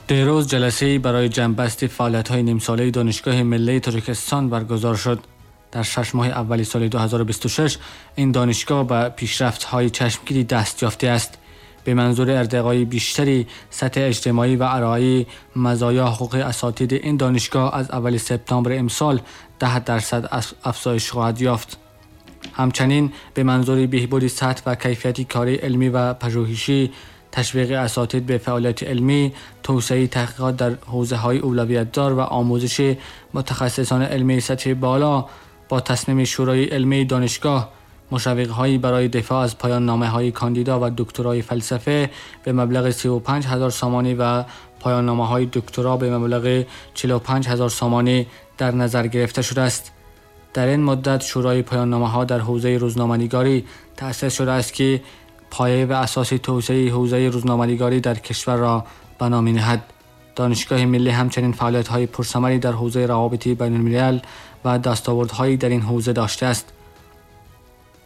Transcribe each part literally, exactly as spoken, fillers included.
دیروز جلسه‌ای برای جمع‌بستی فعالیت‌های نیمساله دانشگاه ملی تاجیکستان برگزار شد. در شش ماه اول سال دو هزار و بیست و شش این دانشگاه به پیشرفت‌های چشمگیری دست یافته است. به منظور ارتقای بیشتری سطح اجتماعی و ارائه مزایا حقوق اساتید این دانشگاه از اول سپتامبر امسال ده درصد افزایش خواهد یافت. همچنین به منظور بهبود سطح و کیفیت کاری علمی و پژوهشی، تشویق اساتید به فعالیت علمی، توسعه تحقیقات در حوزه‌های اولویت‌دار و آموزش متخصصان علمی سطح بالا با تصمیم شورای علمی دانشگاه مشوق‌هایی برای دفاع از پایان نامه‌های کاندیدا و دکترای فلسفه به مبلغ سی و پنج هزار سامانی و پایان نامه‌های دکترا به مبلغ چهل و پنج هزار سامانی در نظر گرفته شده است. در این مدت شورای پایان نامه‌ها در حوزه روزنامه‌نگاری تأسیس شده است که پایه و اساس توسعه حوزه روزنامه‌نگاری در کشور را بنا می‌نهد. دانشگاه ملی همچنین فعالیت‌های پرثمری در حوزه روابط بین‌الملل و دستاوردهایی در این حوزه داشته است.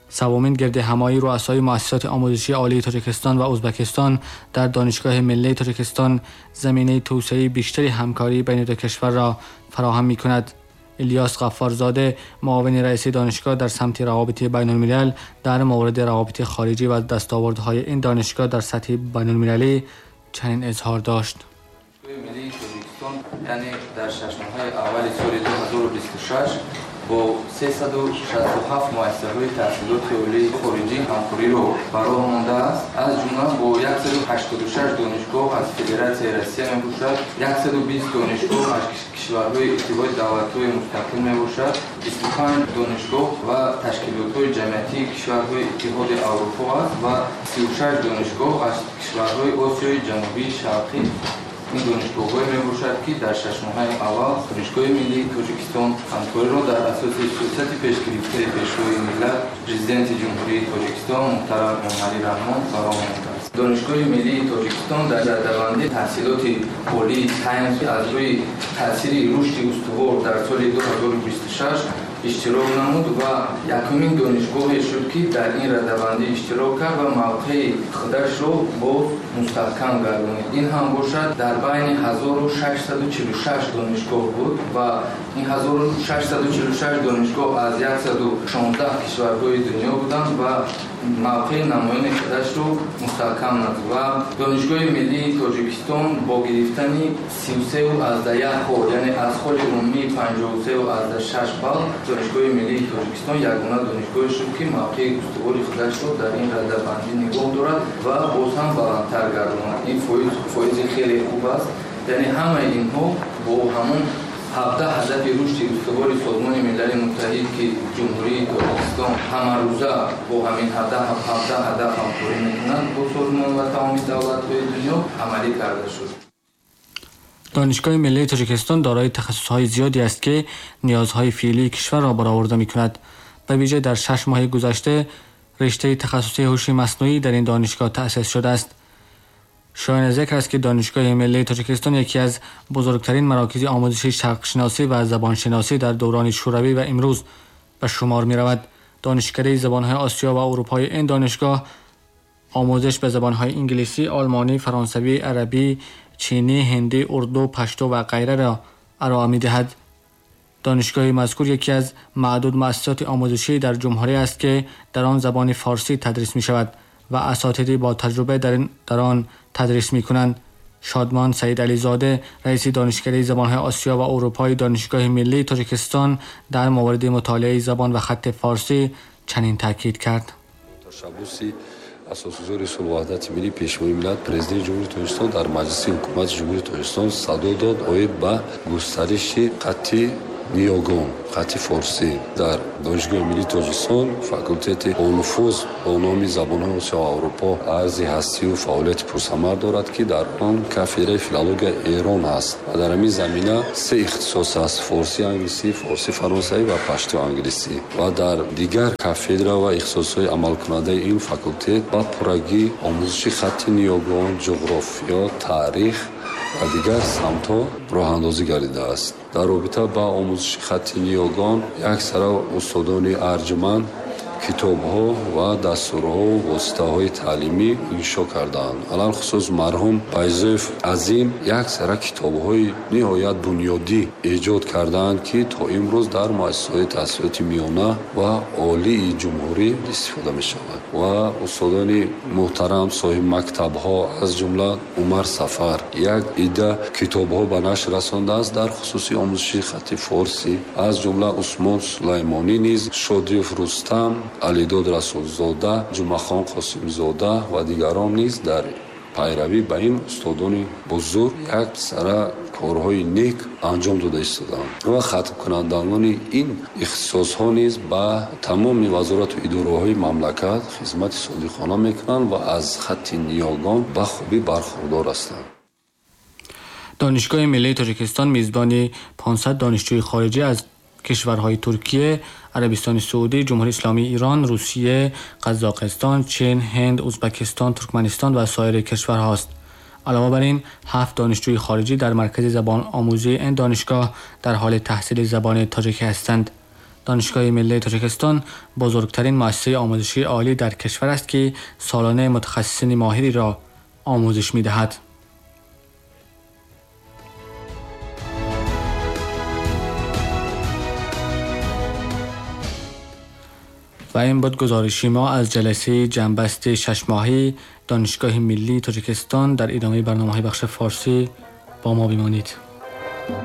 سومین گرد همایی رؤسای مؤسسات آموزشی عالی تاجیکستان و ازبکستان در دانشگاه ملی تاجیکستان زمینه توسعه بیشتری همکاری بین دو کشور را فراهم می‌کند. الیاس غفارزاده معاون رئیس دانشگاه در سمت روابط بین‌الملل در مورد روابط خارجی و دستاوردهای این دانشگاه در سطح بین‌المللی چنین اظهار داشت. دانشگاه ملی تاجیکستان یعنی در شش ماه اول سال دو هزار و بیست و شش با سیصد و شصت و هفت مؤسسه‌های تحصیلات عالی خارجی همکاری را براه مانده است. از جمله با صد و هشتاد و شش دانشگاه از فدراسیون روسیه میباشد، صد و بیست دانشگاه از کشورهای اتحاد دولت‌های مستقل میباشد، بیست و پنج دانشگاه و تشکیلات‌های جمعیتی کشورهای اتحاد اروپا است و سی و شش دانشگاه از کشورهای آسیای جنوبی شرقی. این دانشگاه‌های میباشد که در شش ماه اول دانشگاه ملی تاجیکستان همکاری را در اساس سیاست پیش گرفته پیشوای ملت پرزیدنت جمهوری تاجیکستان محترم امامعلی رحمان براه مانده است. دانشگاه ملی تاجیکستان در رده‌بندی تحصیلات عالی تایمز از روی تاثیر رشد استوار در سال دو هزار و بیست و شش اشتراک نمود و یکمین دانشگاهی شد که در این رده‌بندی اشتراک کرد و موقع خودش را باز مستحکم گردانید. این هم باشد در بین هزار و ششصد و چهل و شش دانشگاه بود و این هزار و ششصد و چهل و شش دانشگاه از صد و شانزده کشورهای دنیا بودند و موقع نمایان خودش را مستحکم نمود و دانشگاه ملی تاجیکستان با گرفتن سی و سه و از ده یک خال، یعنی از خال عمومی پنجاه و سه و از ده شش بال، دانشگاه ملی تاجیکستان یگانه دانشگاهی شد که موقع استوار خودش را در این رده‌بندی نگاه دارد و باز هم بلندتر گرداند. این فویز، فویز خیلی خوب است. یعنی همه اینها با همون هفده هدف رشد استوار سازمان ملل متحد که جمهوری تاجیکستان همه روزه با همین هفده هدف همکاری میکنند با سازمان و تمام دولت‌های دنیا عملی کرده شد. دانشگاه ملی تاجیکستان دارای تخصص‌های زیادی است که نیازهای فعلی کشور را برآورده می‌کند. به ویژه در شش ماه گذشته رشته تخصصی هوش مصنوعی در این دانشگاه تأسیس شده است. شایان ذکر است که دانشگاه ملی تاجیکستان یکی از بزرگترین مراکز آموزش شرق‌شناسی و زبانشناسی در دوران شوروی و امروز به شمار می‌رود. دانشکده زبان‌های آسیا و اروپای این دانشگاه آموزش به زبان‌های انگلیسی، آلمانی، فرانسوی، عربی، چینی، هندی، اردو، پشتو و غیره را ارائه می‌دهد. دانشگاه مذکور یکی از معدود مؤسسات آموزشی در جمهوری است که در آن زبان فارسی تدریس می‌شود و اساتیدی با تجربه در این، در آن تدریس می‌کنند. شادمان سعید علیزاده رئیس دانشکده زبان‌های آسیا و اروپای دانشگاه ملی تاجیکستان در مورد مطالعه زبان و خط فارسی چنین تاکید کرد. تشبثی асосгузори сулҳу ваҳдати миллӣ, пешвои миллат, президенти Ҷумҳурии Тоҷикистон дар Маҷлиси Ҳукумати Ҷумҳурии Тоҷикистон садо дод оид ба густариши хатти ниёгон, хатти форсӣ. Дар Донишгоҳи миллии Тоҷикистон факултети бонуфуз бо номи забонҳои Осиё ва Аврупо арзи ҳастию фаъолияти пурсамар дорад, ки дар он кафедраи филологияи Эрон аст ва дар ҳамин замина се ихтисос аст: форсӣ англисӣ, форсӣ фаронсавӣ ва пашту англисӣ. Ва дар дигар кафедра ва ихтисосҳои амалкунандаи ин факултет ба пуррагӣ омӯзиши хатти ниёгон, ҷуғрофиё, таърих ва дигар самтҳо роҳандозӣ гардидааст. Дар робита ба омӯзиши хатти ниёгон як сара устодони арҷманд китобҳо ва дастурҳо воситаҳои таълимӣ иншо кардаанд. Алалхусус марҳум Байзоев Азим як сара китобҳои ниҳоят бунёдӣ эҷод кардаанд, ки то имрӯз дар муассисаҳои таҳсилоти миёна ва олии ҷумҳурӣ истифода мешавад. Ва устодони муҳтарам соҳиби мактабҳо аз ҷумла Умар Сафар як идда китобҳо ба нашр расондааст дар хусуси омӯзиши хати форсӣ, аз ҷумла Усмон Сулаймонӣ низ, Шодиев Рустам, Алидод Расулзода, Ҷумъахон Қосимзода ва дигарон низ дар пайравӣ ба ин устодони бузург як сара корҳои нек анҷом дода истодаанд. Ва хатмкунандагони ин ихтисосҳо низ ба тамоми вазорату идораҳои мамлакат хизмати содиқона мекунанд ва аз хатти ниёгон ба хубӣ бархурдор ҳастанд. Донишгоҳи миллии Тоҷикистон мизбони панҷсад донишҷӯи хориҷӣ аз кишварҳои Туркия, Арабистони Саудӣ, Ҷумҳурии Исломии Ирон, Русия, Қазоқистон, Чин, Ҳинд, Узбекистон, Туркманистон ва саири кишварҳост. Алова бар ин, ҳафт донишҷӯи хориҷӣ дар маркази забономӯзии ин донишгоҳ дар ҳоли таҳсили забони тоҷикӣ ҳастанд. Донишгоҳи миллии Тоҷикистон бузургтарин муассисаи омӯзишии олӣ дар кишвар аст, ки солона мутахассисини моҳиреро омӯзиш медиҳад. و این بود گزارشی ما از جلسه جنبست شش ماهی دانشگاه ملی تاجیکستان. در ادامه برنامه‌های بخش فارسی با ما بمانید.